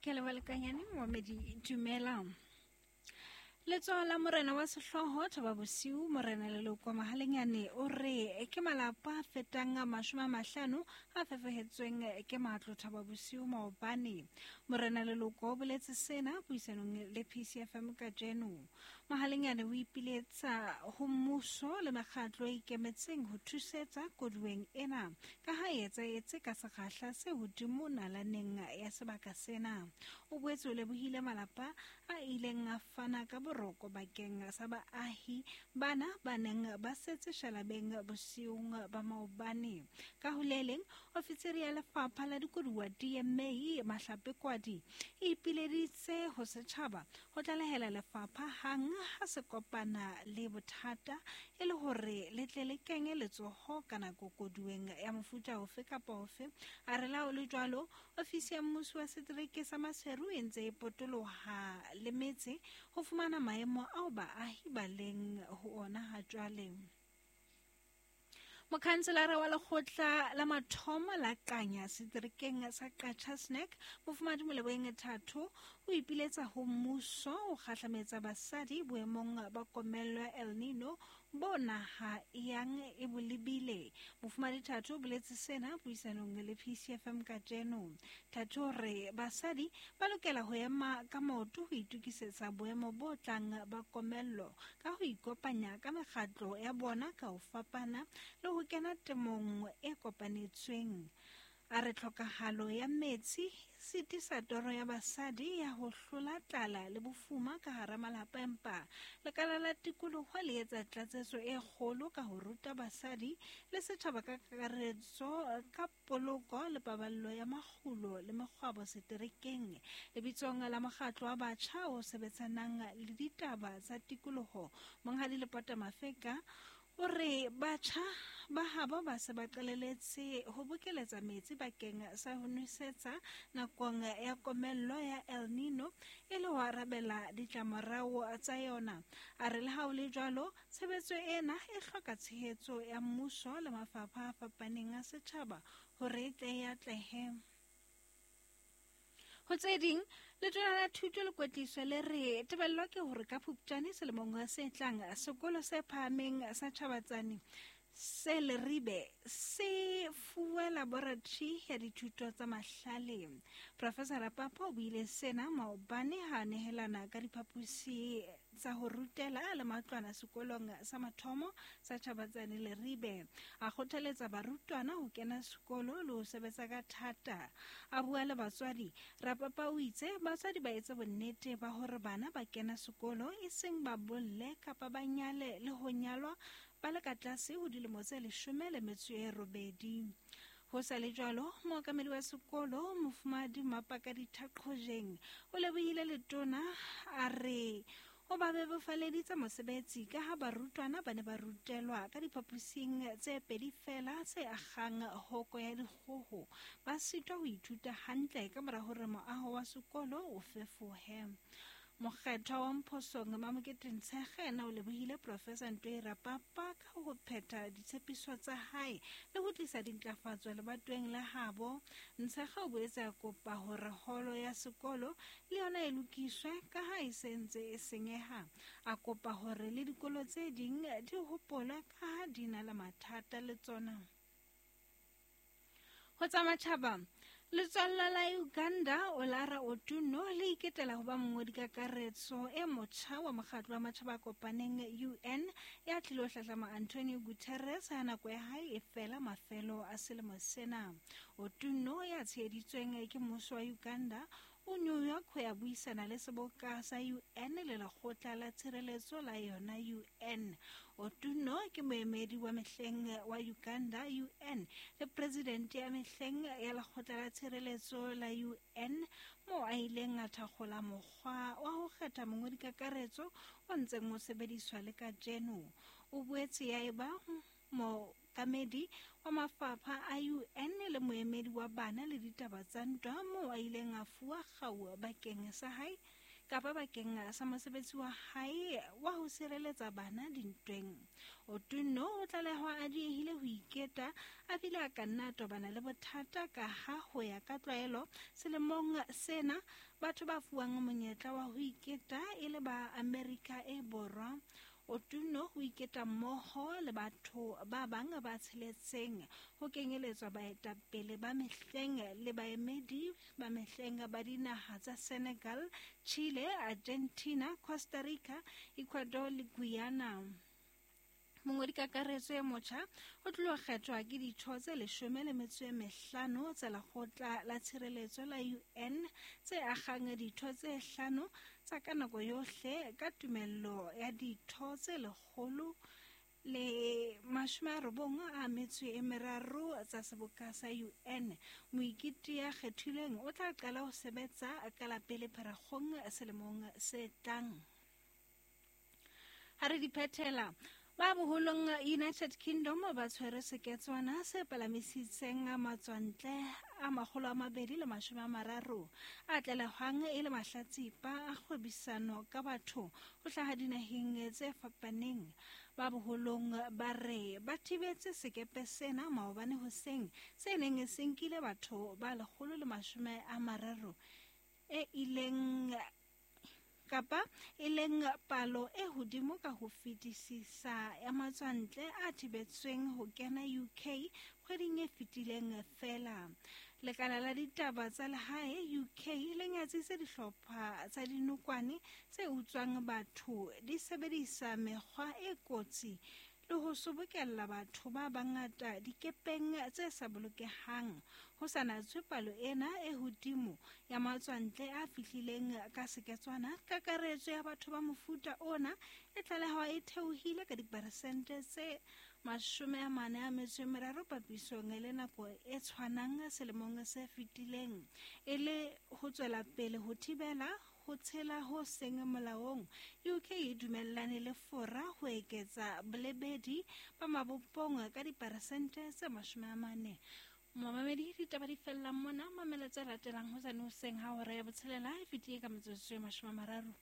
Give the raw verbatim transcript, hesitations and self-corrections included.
Ke leboha lekanyane momamedi dumela. Letsoho la morena wa sehlooho Thaba Bosiu morena Leloko Mahalenyane o re ke malapa a fetang a mashome a mahlano a fefehetsweng ke matlo Thaba Bosiu maobane. Morena Leloko o boletse sena puisanong le P C F M kajeno. Mahalenyane o ipiletsa ho mmuso le mekgatlo e ikemetseng ho thusetsa koduweng ena ka ha e etsahetse ka sekgahla se hodimo nalaneng ya sebaka sena. O boetse o lebohile malapa a ileng a fana ka boroko bakeng sa baahi bana ba neng ba setse shalabeng bosiung ba maobane. Ka ho le leng, ofisiri ya lefapha la dikoduwa D M A Mahlape Kwadi e ipileditse ho setjhaba ho tlalehela lefapha hang ha se kopana le bothata e le hore le tle le kenye letsoho ka nako koduweng ya mofuta ofe kapa ofe. A re la ho le jwalo, ofisi ya mmuso wa setereke sa Maseru e ntse e potoloha le metse ho fumana maemo ao baahi ba leng ho ona ha jwale. Mokhanselara wa lekgotla la mathomo la Qanya seterekeng sa Qacha's Nek, Mofumahadi Moleboheng Thato, o ipiletsa ho mmuso ho kgahlametsa basadi boemong ba komello ya El Nino bo naha e yang e bo lebile. Mofumahadi Thato o boletse sena puisanong le P C F M kajeno. Thato o re basadi ba lokela ho ema ka maoto ho itokisetsa boemo bo tlang ba komello ka ho ikopanya ka mekgatlo ya bona ka ho fapana le ho kena temong e kopanetsweng. A re tlhokahalo ya metsi sitisa toro ya basadi ya ho hlola tlala le bofuma ka hara malapa, empa lekala la tikoloho le etsa tlatsetso e kgolo ka ho ruta basadi le setjhaba ka kakaretso ka poloko le paballo ya makgulo le mekgwabo seterekeng. Lebitsong la mokgatlo wa batjha o sebetsanang le ditaba tsa tikoloho, Monghadi Lepota Mafeka o re batjha ba habo ba se ba qaleletse ho bokeletsa metsi bakeng sa ho nwesetsa nakong ya komello ya El Nino e le ho arabela ditlamorao tsa yona. A re le ha ho le jwalo, tshebetso ena e hloka tshehetso ya mmuso le mafapha a fapaneng a setjhaba hore e tle e atlehe. Ho tse ding, letona la thuto le kwetliso le re tebello ke hore ka Phupjane selemong se tlang sekolo se phahameng sa Tjhabatsane se Leribe se fuwe laboratory ya dithuto tsa mahlale. Professor Rapapa o buile sena maobane ha a nehelana ka diphaposi tsa ho rutela le matlwana sekolong sa mathomo sa Tjhabatsane Leribe. A kgothaletsa barutwana ho kena sekolo le ho sebetsa ka thata. A bua le batswadi, Rapapa o itse batswadi ba etse bonnete ba hore bana ba kena sekolo e seng ba bolle kapa ba nyale le ho nyalwa ba le ka tlase ho dilemo tse leshome le metso e robedi. Ho sa le jwalo, mookamedi wa sekolo Mofumahadi Mapaka Dithaqhojeng o lebohile letona a re o ba bebofaleditse mosebetsi ka ha barutwana ba ne ba rutelwa ka diphaposing tse pedi feela tse akgang hoko ya dikgoho, ba sitwa ho ithuta hantle ka mora hore moaho wa sekolo o fefohe. Mokgethwa wa Mphosong Mamokete Ntshekge yena o lebohile Professor Ntoi Rapapa ka ho phetha ditshepiso tsa hae le ho tlisa dintlafatso lebatoweng la habo. Ntshekge o boetse a kopa hore holo ya sekolo le yona e lokiswe ka ha e se ntse e senyeha. A kopa hore le dikolo tse ding di hopolwe ka ha di na le mathata le tsona. Ho tsa matjhaba, letswalla la Uganda Olara Otuno le iketela ho ba mongodi kakaretso e motjha wa mokgatlo wa matjhaba a kopaneng U N ya tlilo hlahlama Antonio Guterres ha nako ya hae e fela mafelo a selemo sena. Otuno ya tsheheditsweng ke mmuso wa Uganda o New York ho ya buisana le seboka sa U N le lekgotla la tshireletso la yona U N. Otuno ke moemedi wa mehleng wa Uganda U N le presidente ya mehleng ya lekgotla la tshireletso la U N moo a ileng a thakgola mokgwa wa ho kgetha mongodi kakaretso o ntseng o sebediswa le kajeno. O boetse ya eba mookamedi wa mafapha a U N le moemedi wa bana le ditaba tsa ntwa moo a ileng a fuwa kgau bakeng sa hae kapa bakeng sa mosebetsi wa hae wa ho sireletsa bana dintweng. Otunno o tlalehwa a diehile ho iketa a bile a ka nna a tobana le bothata ka ha ho ya ka tlwaelo selemong sena batho ba fuwang monyetla wa ho iketa e le ba Amerika e Borwa. Otunno ho iketa mmoho le batho ba bang ba tsheletseng ho kenyeletswa baetapele ba mehleng le baemedi ba mehleng ba dinaha tsa Senegal, Chile, Argentina, Costa Rica, Ecuador le Guyana. Mongodi kakaretso e motjha o tlilo kgethwa ke ditho tse leshome le metso e mehlano tsa Lekgotla la Tshireletso la U N tse akgang ditho tse hlano tsa ka nako yohle ka tumello ya ditho tse lekgolo le mashome a robong a metso e meraro tsa seboka sa U N. Moiketi ya kgethilweng o tla qala ho sebetsa ka la pele Pherekgong selemong se tlang. Ha re di phethela, ba boholong United Kingdom ba tshwere seketswana se palamisitseng matswantle a makgolo a mabedi le mashome a mararo a tlalehwang e le mahlatsipa a kgwebisano ka batho ho hlaha dinaheng tse fapaneng. Ba boholong ba re ba thibetse sekepe sena maobane hoseng se neng se nkile batho ba lekgolo le mashome a mararo e ileng kapa e leng palo e hodimo ka ho fetisisa ya matswantle a thibetsweng ho kena U K kgweding e fetileng feela. Lekala la ditaba tsa lehae U K le nyatsitse dihlopha tsa dinokwane tse utswang batho di sebedisa mekgwa e kotsi le ho sobokella batho ba bangata dikepeng tse sa bolokehang. Ho sa natswe palo ena e hodimo ya matswantle a fihlileng ka seketswana, kakaretso ya batho ba mofuta ona e tlalehwa e theohile ka diperesente tse mashome a mane a metso e meraro papisong le nako e tshwanang selemong se fetileng, e le ho tswela pele ho thibela ho tshela ho seng molaong. U K e dumellane le Fora ho eketsa bolebedi ba mabopong ka diperesente tse mashome a mane. Momamedi, ditaba di fella mona, mamela tse latelang hosane hoseng ha hora ya botshelela e fetile ka metsotso e mashome a mararo.